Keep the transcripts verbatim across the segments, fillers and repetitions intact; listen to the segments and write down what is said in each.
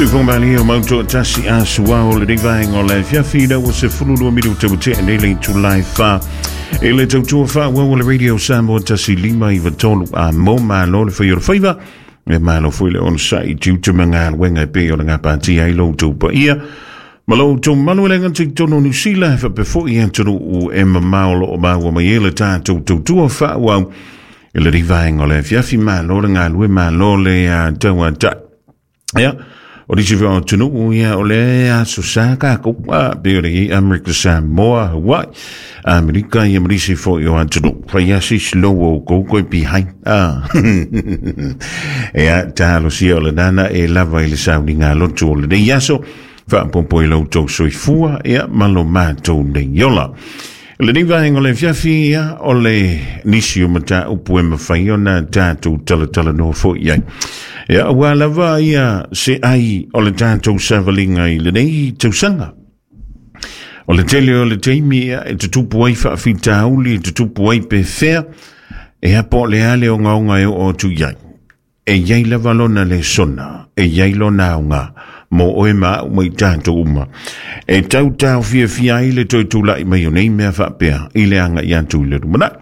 Sufumali o mauto tasi a suao le vaenga o le fiafi la ua sefulu lua minuta ua tea nei le itulai fa e le tautua faaauau o le Radio Samoa tasi lima iva tolu a mo malo le fai o le faiva e malo foi le onosai tiute ma galuega e pei o le gapatia ai lo outou paia ma lo outou malu e le gata i totonu o Niusila e faapea foʻi atunuu e mamao o loo maua mai ai le tatou tautua faaauau i le vaenga o le afiafi. Malo le galue, malo le tauataʻi. Ia o nisi foi o atunuu ia o le aso sa takou a pei o le iai Amerika, Samoa, Hawaii, Amerika ia ma nisi foi o atunuu fai asi slow o kou koe behind a. Ia talosia o le nana e lava i le sauniga lotu o lenei aso faapopo i lo outou soifua ia ma lo matou nei ola. Lenei vaega o le afiafi ia o le nisi o mataupu e mafai ona tatou talatalanoa foi ai. Ia ua lava ia se ai o le tatou savaliga i lenei tausaga. O le tele o le taimi ia e tutupu ai faafitauli, e tutupu ai pe fea, e po o le a le ogaoga e oo atu i ai. E iai lava lona lesona, e iai lona aoga mo oe ma a'u ma i tatou uma. E tau taofiafia ai le toe tula'i mai o nei mea faapea i le agaʻi atu i le lumanaʻi.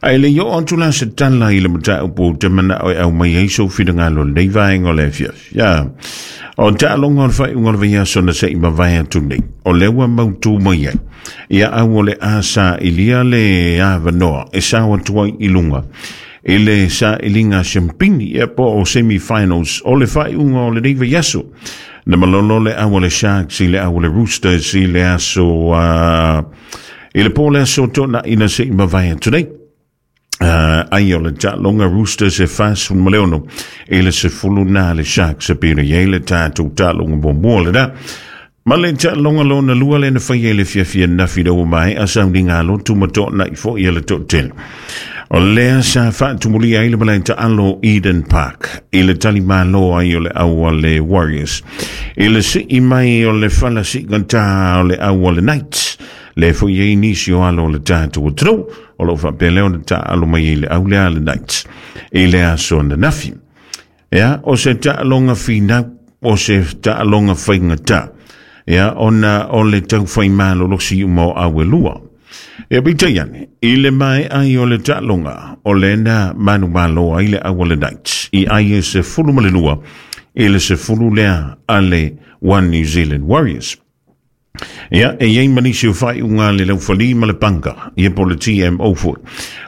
Ae le i oo atu la se tala i le mataupu ou te manao e aumai ai sou finagalo lenei vaega o le afiafi. Ia, o taaloga o le faaiuga o le vaiaso na seʻi mavae atu nei, o lea ua mautū mai ai. Ia au o le a saʻilia le avanoa e sao atu ai i luga i le saʻiliga siampini ia po o semi-finals o le faaiuga o lenei vaiaso. Na malolo le au o le Sharks i le au o le Roosters i le aso uh, i le po le aso tonaʻi na seʻi mavae atu nei. Uh, ai o le taaloga Roosters e fasefulu ma le ono i le sefulu na le Sharks e pei ona i ai le tatou taaloga muamua lena. Ma le taaloga lona lua le na faia i le fiafia nafi na ua maeʻa sauniga lotu ma toʻanaʻi foʻi a le toʻatele. O lea sa faatumulia ai le malae taalo Eden Park i le talimālō ai o le au a le Warriors. I le sii mai o le fala siʻigatā o le au a le Knights. Le foi ai nisi o alo o le tatou atunuu o loo faapea lea ona taaalo mai ai le au lea a le Knights i le aso ananafi. Ia, o se taaloga finau, o se taaloga faigatā. Ia, ona o le taufai malolosi uma o au e lua. Ia peitai ane, i le maeʻa ai o le taaloga, o lena manumalo ai le au a le Knights i ai e sefulu ma le lua i le sefulu lea a le One New Zealand Warriors. Ia, e iai ma nisi o faaiuga le laufalī ma le panka, ia po le T M O foi.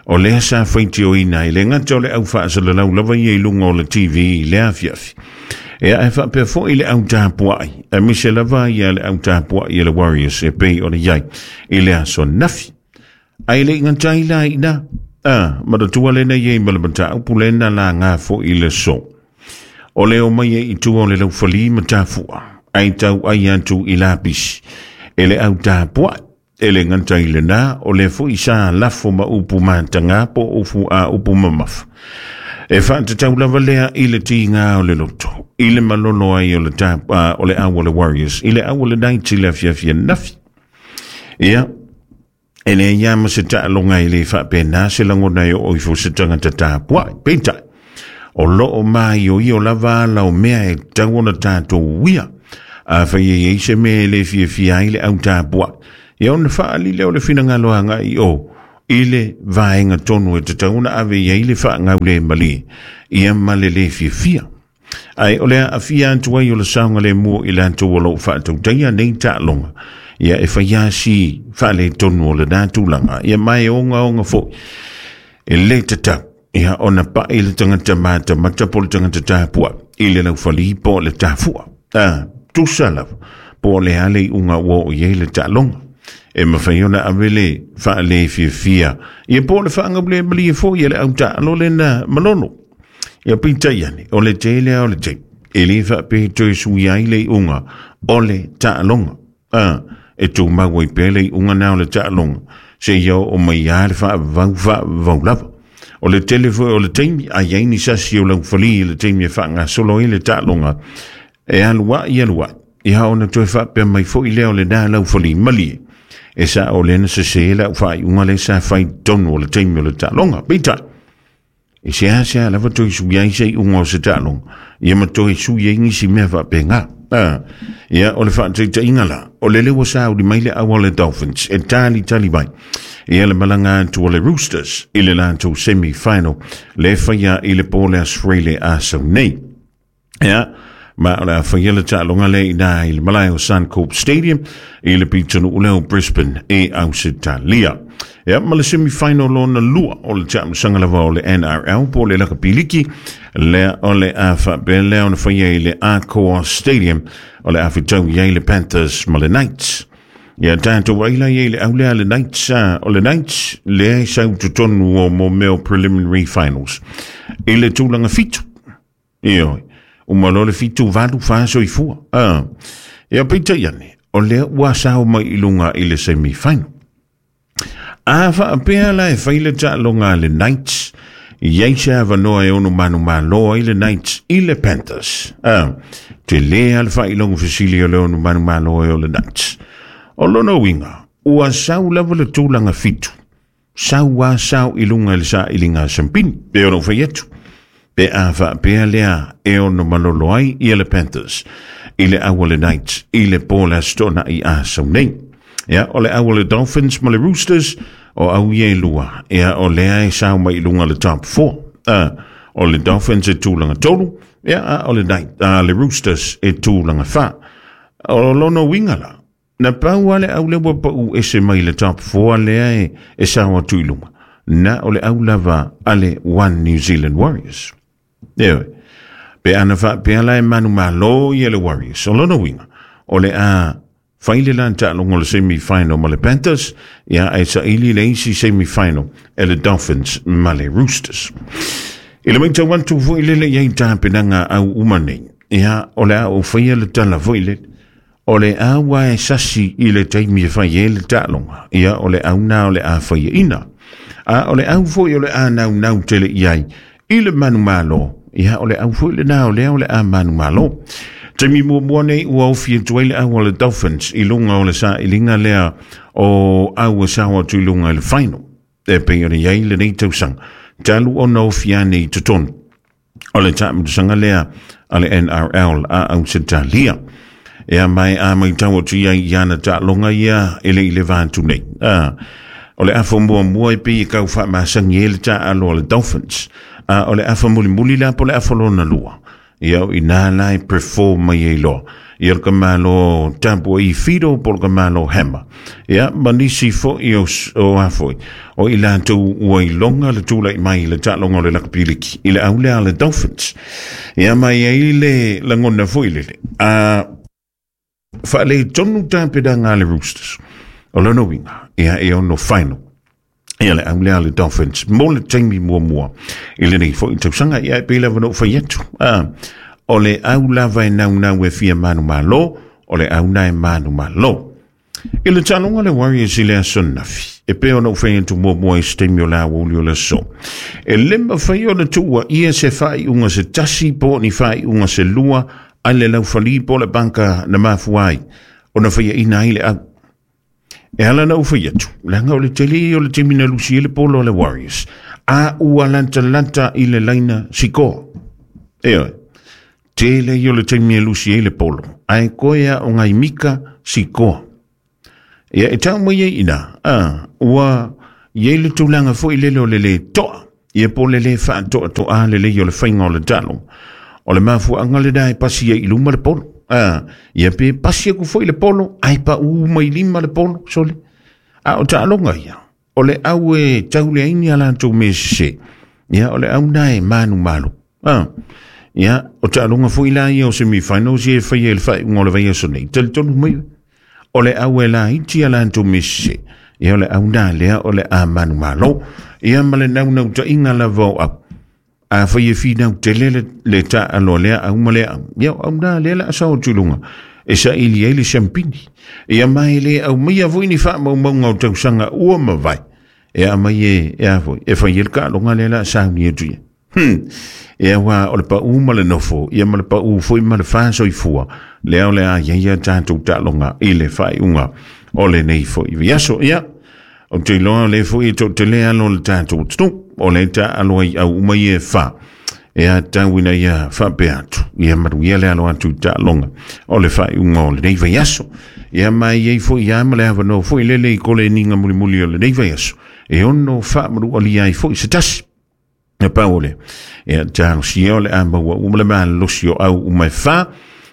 O lea sa faitioina i le gata o le au faasalalau lava ia i luga o le T V i le afiafi. Ia, e faapea foʻi le au tapuaʻi, aemaise lava ia le au tapuaʻi a le Warriors e pei ona iai i le aso nafi. Ae le i gata ai la iina, a, manatua lena iai ma le mataupu lena lagā foʻi le so. O le omai e i tua o le laufalī ma tafuʻa, ai tau ai atu i lapisi. E le au tapuaʻi, e le gata i lenā, o le foʻi sa lafo ma upu matagā po o ufu a upu mamafa. E faatatau lava lea i le tigā o le loto, i le malolo ai o le, tap, uh, o le au o le Warriors, i le au o le Knights i le afiafi nafi. Ia, e le ia ma se taaloga e le faapena se lagona e oo ifo se tagata tapuaʻi. Peitai, o loo maioio lava ala o mea e tatau ona tatou uia. A fai e iai se mea e le fiafia ai le au tapuaʻi. Ia ona faaali lea o le finagalo agaʻi o i le vaega tonu e tatau ona ave i ai le faagau le malie ia ma le le fiafia. Ae o le aafia atu ai o le saogalemu i latou o loo faatautaia nei taaloga. Ia e fai asi faaletonu o lenā tulaga. Ia ma e ogaoga foʻi e le tatau. Ia ona paʻi le tagata matamata po le tagata tapuaʻi i le laufalī po o le tafuʻa. A, tusa lava po o le a le iʻuga ua oo i ai le taaloga. E mafai ona ave le faalefiafia ia po o le faagaule malie foʻi e le au taalo lena malolo. Ia peitai ane, o le tele a o le taimi e lē faapea toe sui ai le iʻuga o le taaloga. A, e tumau ai pea le iʻuga na o le taaloga seia oo mai a le faavavau faavavau lava. O le tele foi o le taimi ai ai ni sasi o laufalī i le taimi e faagasolo ai le taaloga e aluaʻi aluaʻi. Ia ona toe faapea mai foʻi lea o lenā laufalī malie. E sa o lena sesē lau faaiuga le sa fai tonu o le taimi o le taaloga. Peitai, E se a se a lava toi sui ai se i unga o se taaloga ia ma toi sui ai nisi mea faapega. Ah, ia o le faataitaiga la o lele ua sauli mai le au a le Dolphins e talitali mai ia le malaga atu o le Roosters i le latou semi-final le faia i le po le Aso Faraile a sau nei. Ia ma o le a faia le taaloga le i na i le malae o Suncorp Stadium i le pitonuu lea o Brisbane e Ausetalia. Ia ma le semi-final lona lua o le taamilosaga lava o le N R L po o le lakapiliki lea o le a faapea lea ona faia i le Accor Stadium o le a fetau i ai le Panthers ma le Knights. Ia tatou ai la i le au lea le Knights, o le Knights lea e sau totonu o mo mea o preliminary finals i le tulaga fitu. Ioe, uma loa le fitu valu fa soifua. Ah, ia peitai ane, o lea ua sao mai i luga i le semi-final. A faapea la e fai le taaloga a le Knights, iai se avanoa e ono manumalo ai le Knights i le Panthers. Ah, te lea le faailoga fesili o le ono manumalo ai o le Knights. O lona uiga, ua sau lava le tulaga fitu. Sau a sau i luga i le sailiga a sampini, pe ona fai atu. Pe a faapea lea e ono malolo ai ia le Panthers i le au a le Knights i le po le Aso Toonai a sau nei. Ia, o le au a le Dolphins ma le Roosters o au ia e lua. Ia, o lea e sau mai i luga le top four. Ah, o le Dolphins e tulaga tolu, ia, a o le Knight, a le Roosters e tulaga fa. O lona uiga la, na pau a le au lea ua pau ese mai le top four lea e, e sao atu i luga. Na o le au lava a le One New Zealand Warriors. Ia, pe ana faapea la e manumalo ia le Warriors. O lona uiga, o le a fai le la taaloga o le semi-final ma le Panthers, ia ae saili le isi semi-final e le Dolphins ma le Roosters. I le maitau atu foi lele iai tapenaga au uma nei, ia o le a ou faia le tala foi lele, o le au a e sasi i le taimi e fai ai le taaloga, ia o le au na o le a faiaina. A o le au foi o le a naunau tele i ai i le manumalo, ia o le au foi lena o lea o le a manumalo. Taimi muamua nei ua ofi atu ai le au a le Dolphins i luga o le sailiga lea o au e sao atu i luga i le final. E pei ona iai lenei tausaga, talu ona ofi ane i totonu o le taamilosaga lea a le N R L a Ausetalia. Ia mai a maitau atu ia i ana taaloga ia e le i le va atu nei. Ah, o le afa muamua e pei e kau faamasagi ai le taalo a le Dolphins. Ah, o le afa mulimuli la po le afa lona lua. Ia o ina la e perform mai ai loa. Ia le kamalo tapu i Fido po le kamalo Hammer. Ia ma nisi foi o, o a foi. O i latou ua iloga le tulai mai le taaloga o le lakapiliki i le au lea a le Dolphins. Ia mai ai le lagona foi lele. A faaletonu tapenaga a le Roosters. O lona uiga, ia e ono final. Ia le au lea a le Dolphins mo le taimi muamua i lenei foi tausaga, ia e pei lava na ou fai atu. Ah, o le au lava e naunau e fia manumalo, o le au na e manumalo. I le taaloga le Warriors i le aso nafi, e pei ona ou fai atu muamua i se taimi o le aoauli o le aso. E le mafai ona tuua ia se faaiuga se tasi po o ni faaiuga se lua ai le laufali po o le banka na mafua ai ona faiaina ai le au. E ala na ou fai atu, leaga o le tele o le taimi na lusi ai le polo a le Warriors, a ua lantalanta i le laina sikoa. Ioe, tele ia o le taimi e lusi ai le polo, ae koe a o ngai mika sikoa. Ia e tau mai ai ina, a, ua iai le tulaga foi lele o le le toa, ia po le le faatoatoa lelei o le faiga o le taaloga. O le mafuaaga lena e pasi ai i luma le polo. Ah, ia pe pasi aku foi le polo, ai pa u mai lima le polo, sole. A o taaloga ia, o le au e tauleaini a latou mea sese. Ia o le au na e manumalo. Ah, ia o taaloga foi la ia o semi-finals ia e faia i le faaiuga o le vaiaso nei. Talitonu mai, o le au e laiti a latou mea sese. Ia o le au na lea o le a manumalo. Ia ma le naunautaiga lava o au. A fai e finau tele le, le taalo lea au ma lea au. Ia au na lea la asao atu i luga. E saili ai le siampini. Ia mai le au mai foi ni faamaumauga o tausaga ua mavae. E a mai e, e a foi. E fai e le taaloga lea la sauni atu ia. Hmm. Ia wā o le pau ma le nofo. Ia ma le pau foi ma le whāsoifua. Lea o le a ia ia tātou taaloga i le faaiuga o lenei foi vaiaso. Ia, O te iloa le foi e toʻatele alo o le tatou atunuu o le taalo ai au uma ia e fa e atau ina ia faapea atu ia manuia le alo atu i taaloga o le faaiuga o lenei vaiaso. Ia ma e i ai foi ia ma le avanoa foi lele i koleniga mulimuli o lenei vaiaso e ono faamanualia ai foi se tasi. E pau o lea, ia talosia o le a maua uma le malosi o au uma e fa.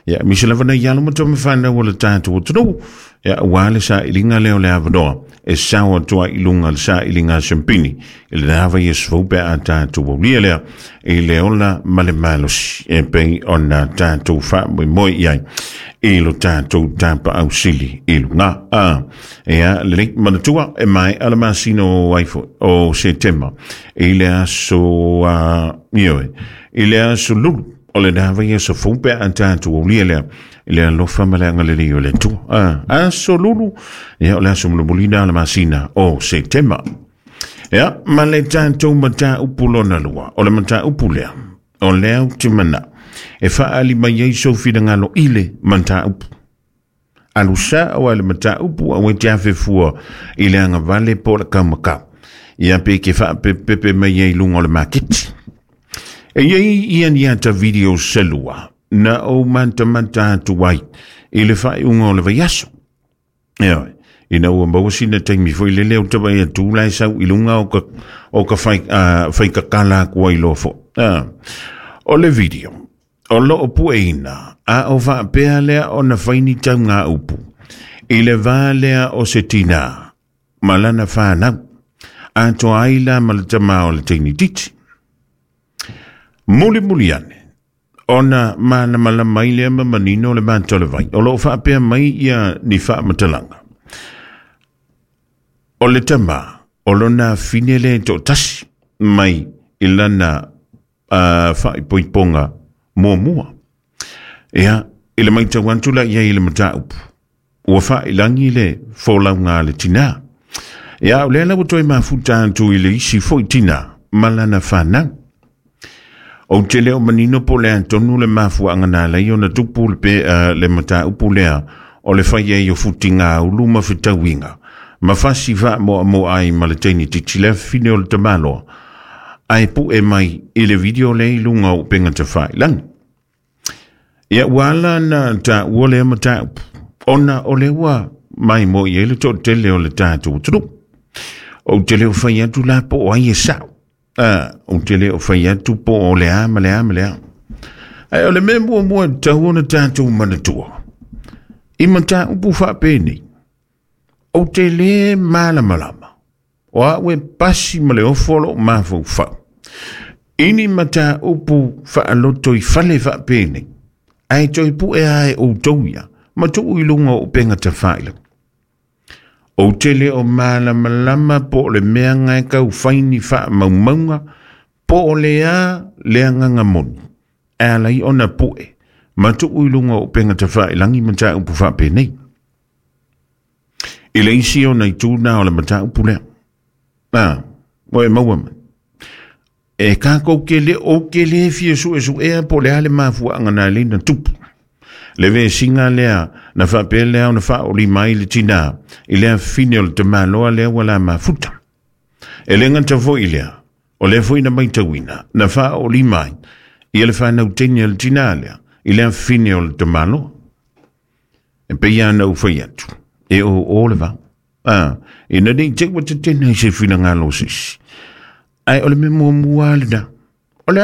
Ia misi lava nei alo ma tama whanau o le tatou atunuu. Ia ua le sailiga lea o le avanoa e sao atu ai i luga le sailiga a Siampini i le lava ia sefou pe a tatou aulia lea i le ola ma le malosi e pei ona tatou faamoemoe i ai i lo tatou tapaau sili i luga. A ia lelei manatua e maea le masina o ai foi o Setema i le aso uh, ioe i le aso Lulu o le lava ia sefou pe a tatou aulia lea i le alofa ma le agalelei o le Atua. A aso Lulu, ia o le aso mulimulina le masina o Setema. Ia ma le tatou mataupu lona lua, o le mataupu lea o lea ou te manao e faaali mai ai sou finagalo i le mataupu. Alu sao ai le mataupu aua e te afe fua i le agavale po o le kaumakau. Ia pe ke faapepepe mai ai i luga o le maketi. E iai ia ni ata video selua na ou matamata atu ai i le faaiuga o le vaiaso. Ioe, ina ua maua sina taimi foi lele o tavaai atu la e sau i luga o ka, o ka fai, uh, faikakala aku ai loa foi. Uh, o le video, o loo pueina, a o faapea lea ona fai ni taugāupu i le va lea o se tinā ma lana fanau, atoa ai la ma le tamā o le teine itiiti. Mulimuli ane, ona malamalama ai lea ma manino le mata o le vai. O loo faapea mai ia ni faamatalaga. O le tamā, o lona afine lea e toatasi mai i lana uh, faaipoipoga muamua. Ia, i le matau atu la i ai i le mataupu, ua faailagi le folauga a le tinā. Ia, o lea la ua toe mafuta atu i le isi foi tinā ma lana fanau. Ou te le o manino po o le a tonu le mafuaaga na ala ai ona tupu le, pe, uh, le mataupu lea o le fai ai o futigaulu ma fetauiga ma fasi faamoamoa ai ma le teine itiiti le afafine o le tamaloa ae pue mai i le video lea i luga o upega tafailagi. Ia ua ala na taua lea mataupu ona o lea ua maimoa i ai le toatele o le tatou atunuu. Ou te le o fai atu la po o ai e sao. Ah, ou te le o fai atu po o le a ma le a ma le a. Ae o le mea muamua e tatau ona tatou manatua i mataupu faapenei, ou te lē malamalama o au e pasi ma le ofo o loo mafaufau i ni mataupu faaloto i fale faapenei ae toe pue a e outou ia ma tuu i luga o upega tafailagi. Ou te le o malamalama po o le mea gae tau fai ni faamaumauga po o le a le agaga moni e ala ai ona pue ma tuu i luga o upega tafailagi mataupu faapenei. I le isi ona itu na o le mataupu lea. A, ua e maua mai. E kākou ke le ou ke le fia suesuea po o le a le mafuaaga na ala ai ona tupu le vesiga lea na faapea lea ona faaolima ai le tinā i le afafine o le tamaloa lea ua la mafuta. E le gata foi lea, o lea foi na matauina na faaolima ai ia le fanau teine a le tinā lea i le afafine o le tamaloa. E pei lava ona ou fai atu, e oo le vao. A, ina ne i te i ua tetena i se finagalo o se isi. Ae o le mea muamua lava lena.